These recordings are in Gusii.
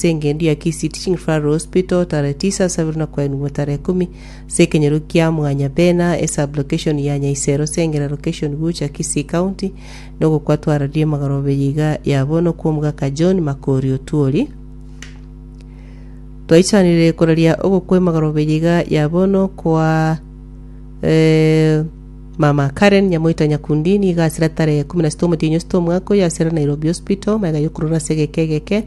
ase engendu ya Kisii Teaching Referral Hospital tarehe tisa asabirwe na koenigwa tarehe kumi ase ekenyoro kia Mwanyabena esub-location ya Nyaisero Sengera location Gucha Kisii County nogokwa twararie emagoroba eye iga ya bono kw'omogaka John Makori Otwori. Twaichanire koraria ogokwa emagoroba eye iga ya bono kwa eh, Mama Karen Nyamoita Nyakundi nigo asira tarehe 16 omotienyi osita omwaka oyo asira Nairobi Hospital magega yokorora ase egeka egeke.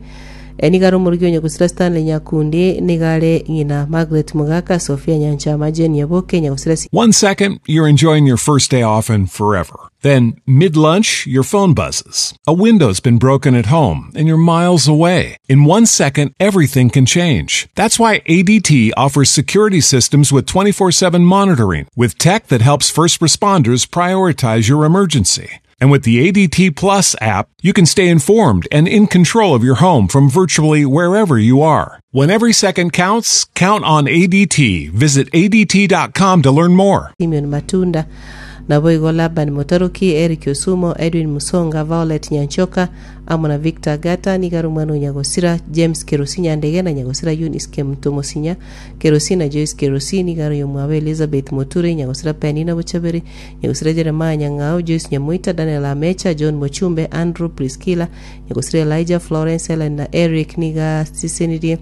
Eh, nigo are omorugi o Nyagusira Stanley Nyakundi nigo are ng'ina Margaret Mogaka, Sophia Nyanchama, Jane Nyaboke, Nyagusira One second, you're enjoying your first day off and forever. Then, mid lunch, your phone buzzes. A window's been broken at home and you're miles away. In one second, everything can change. That's why ADT offers security systems with 24 7 monitoring, with tech that helps first responders prioritize your emergency. And with the ADT Plus app, you can stay informed and in control of your home from virtually wherever you are. When every second counts, count on ADT. Visit ADT.com to learn more. Simeon Matunda, naboigo Laban Motaruki, Eric Osumo, Edwin Musonga, Violet Nyanchoka, amo na Victor Agata, nigo are omwana o Nyagosira, James Kerosi Nyandege na Nyagosira Eunice Kemunto Mosinya, Kerosi na Joyce Kerosi, nigo are oyomwabo Elizabeth Moture, Nyagosira Penina Bochaberi, Nyagosira Jeremiah Nyang'ao, Joyce Nyamoita, Daniel Amecha, John Mochumbe, Andrew Priscilla, Nyagosira Elijah, Florence, Helen na Eric nigo asesenirie.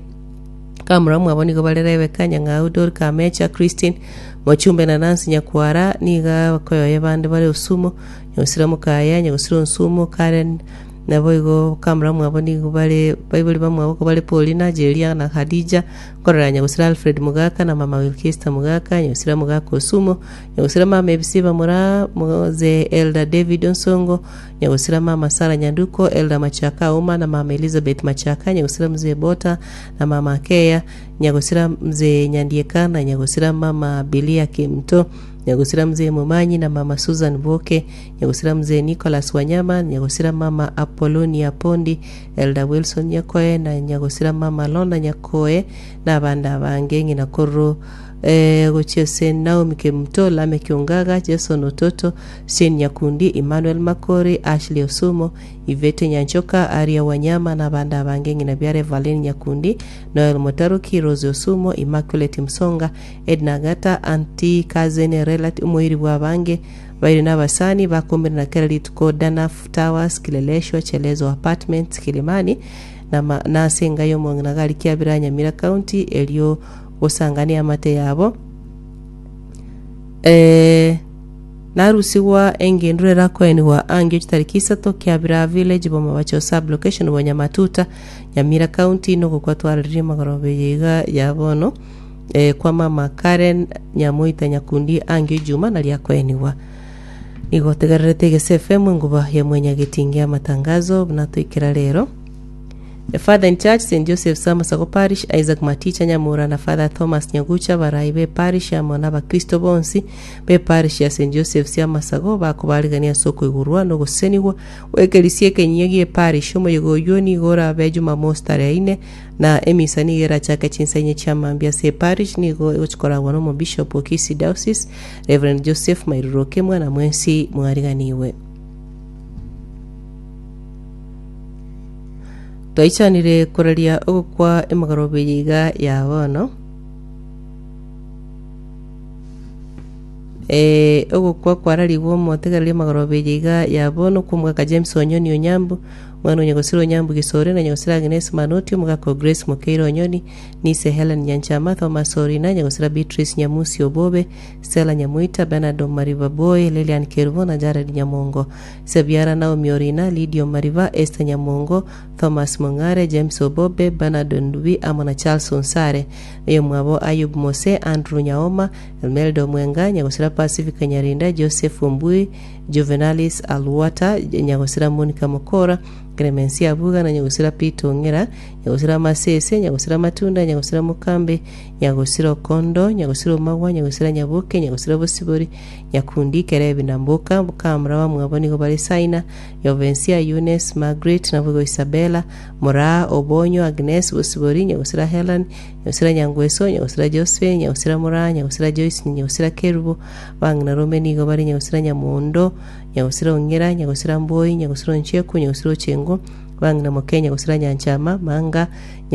Kamura mwabo nigo bare Rebecca, Nyang'au, Dorika, Amecha, Christine, Mochumbe na Nancy Nyakwara, nigo abakoyoye bande bare Osumo, Nyagosira Mokaya, Nyagosira Onsumo, Karen, naboigo kamura mwabo nigo bare baibori bamwabo ko bare Paulina, Jeria na Hadija, nkorora Nyagosira Alfred Mogaka na mama Wilkista Mogaka, Nyagosira Mogaka Osumo, Nyagosira mama Ebisi bamura Mzee Elder David Onsongo, Nyagosira mama Sarah Nyanduko, Elder Machaka Auma na mama Elizabeth Machaka, Nyagosira Mzee Bota na mama Akeya, Nyagosira Mzee Nyandieka na Nyagosira mama Bilia Kimto, Nyagosira Mzee Momanyi na mama Susan Boke, Nyagosira Mzee Nicholas Wanyama, Nyagosira mama Apollonia Pondi, Elder Wilson Nyakoe na Nyagosira mama Lorna Nyakoe na abande abange ng'ina korwa eh, gochia ase Naomi Kemunto, Lameck Ongaga, Jason Ototo, Shane Nyakundi, Emmanuel Makori, Ashley Osumo, Yvette Nyanchoka, Aria Wanyama na abande abange ng'ina biare Evaline Nyakundi, Noel Motaruki, Rose Osumo, Immaculate Msonga, Edna Agata, Auntie, Cousin, Relati, omoiri bw'abange baire na abasani bakomerana kera rituko Danaf Towers, Kileleshwa, Chelezo Apartments, Kilimani, na ma- na ase enga y'omong'ina gari Kiabira Nyamira County erio gosangania amate yabo. Eh, narusigwa engenduro erakoenigwa angio chitariki isato Kiabira Village Bomabacho Sub Location Bonyamatuta Nyamira County nogokwa twararirie magoroba eye iga ya bono eh, kwa mama Karen Nyamoita Nyakundi angio Ijuma naria akoenigwa. Nigo otegererete Egese FM enguba ya mwenyagetingi amatangazo buna toikera rero. The Father in Church, St. Joseph Samasago Parish, Isaac Maticha Nyamura na Father Thomas Nyagucha abarai be parish amo na abakristo bonsi be parish ya St. Joseph's ya Masago bakobarigania ase okoigurwa na ogosesenigwa gwekerisia ekenyia gie parish. Omoyega oyio nigo orabe Jumamosi tarehe ine na emisa nigo erachake chinsa inye chia mambia ase eparish nigo egochi koragwa na omobishop o Kisii Diocese Rev. Joseph Mairuru Okemwa na mwensi mwariganiwe. Twaichanire koraria ogokwa emegoroba eye iga ya bono. Eh, ogokwa kwararigwe omotegereri emegoroba eye iga ya bono kwa omogaka James Onyoni Onyambu, omwana o Nyagosira Onyambu Gisore na Nyagosira Agnes Manoti, omogaka o Grace Mokeire Onyoni, Nice Helen Nyanchama, Thomas Orina, Nyagosira Beatrice Nyamusi Obobe, Stella Nyamoita, Bernard Omariba Boy, Lilian Kerubo na Jared Nyamongo. Sebiara Naomi Orina, Lydia Omariba, Esther Nyamongo, Thomas Mong'are, James Obobe, Bernard Ondubi amo na Charles Onsare. Oyomwabo Ayub Mose, Andrew Nyaoma, Elmelda Omwenga, Nyagosira Pacifica Nyarinda, Joseph Ombui, Juvenalis Aluata, Nyagosira Monica Mokora, Clemencia Abuga na Nyagosira Peter Ong'era, Nyagosira Masese, Nyagosira Matunda, Nyagosira Mokambe, Nyagosira Okondo, Nyagosira Omagwa, Nyagosira Nyaboke, Nyagosira Bosibori, Nyakundi, Kerebi na Mboka, Kamura bamwabo nigo bare Saina, Yovensia, Eunice, Margaret, naboigo Isabella, Moraa, Obonyo, Agnes, Bosibori, Nyagosira Helen, Nyagosira Nyangweso, Nyagosira Josephine, Nyagosira Moraa, Nyagosira Joyce, Nyagosira Kerubo, Bang'ina Rome nigo bare Nyagosira Nyamondo, Nyagosira Ong'era, Nyagosira Mboi, Nyagosira Oncheku, Nyagosira Ochengo, Bang'ina Moke, Nyagosira Nyanchama, Manga, Nyagosira.